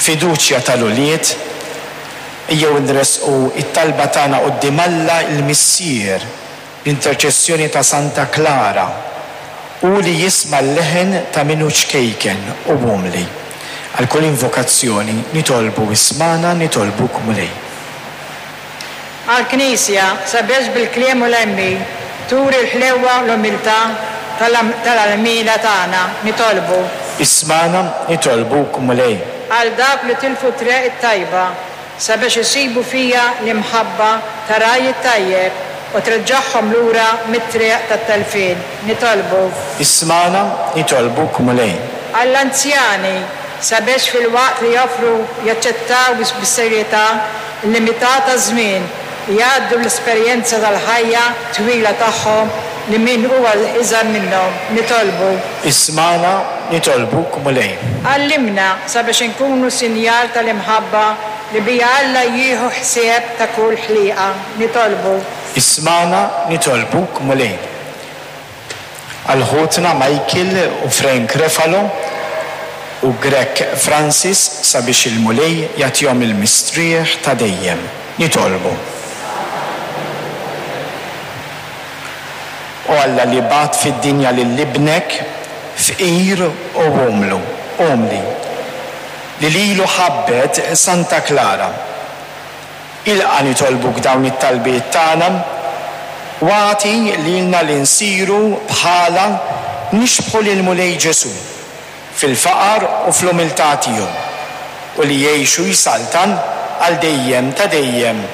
Fiduċja tal-ulied, ejjew inressqu t-talba tagħna quddiem Alla l-Missier bl-interċessjoni ta' Santa Klara, hu li jisma' l-leħen ta' min hu ċkejken u umli. Għal kull invokazzjoni nitolbu ismagħna nitolbuk Mulej. Għall-Knisja, sabiex bil-kliem u l-għemil turi l-ħlewwa u l-umiltà tal-għalmiela tagħna, nitolbu. Ismagħna, nitolbuk, Mulej. Għal dawk li tilfu t-triq it-tajba, sabiex isibu fiha l-imħabba tar-Ragħaj it-Tajjeb u treġġagħhom lura mit-triq tat-telfien, nitolbu. Ismagħna, nitolbuk, Mulej. Għall-anzjani, sabiex filwaqt li joffru jaċċettaw bis-serjetà l-limità taż-żmien, jgħaddu l-esperjenza tal-ħajja twila tagħhom li min huwa iżgħar minnhom. Nitolbu. Ismagħna, nitolbuk, Mulej. Għallimna sabiex inkunu sinjal tal-imħabba li biha Alla jieħu ħsieb ta' kull ħliqa. Nitolbu. Ismagħna, nitolbuk, Mulej. Għal ħutna Michael u Frank Refalo u Grech Francis sabiex il-Mulej jagħtihom il-mistrieħ ta' dejjem. Nitolbu. O Alla li bgħatt fid-dinja lil Ibnek fqir u umlu, umli, li lilu ħabbet Santa Klara, Ilqa' nitolbuk dawn it-talbiet tagħna u agħti lilna li nsiru bħalha nixbħu lill-Mulej Ġesù fil-faqar u fl-umiltà tiegħu u li jgħix u jsaltan għal dejjem ta' dejjem.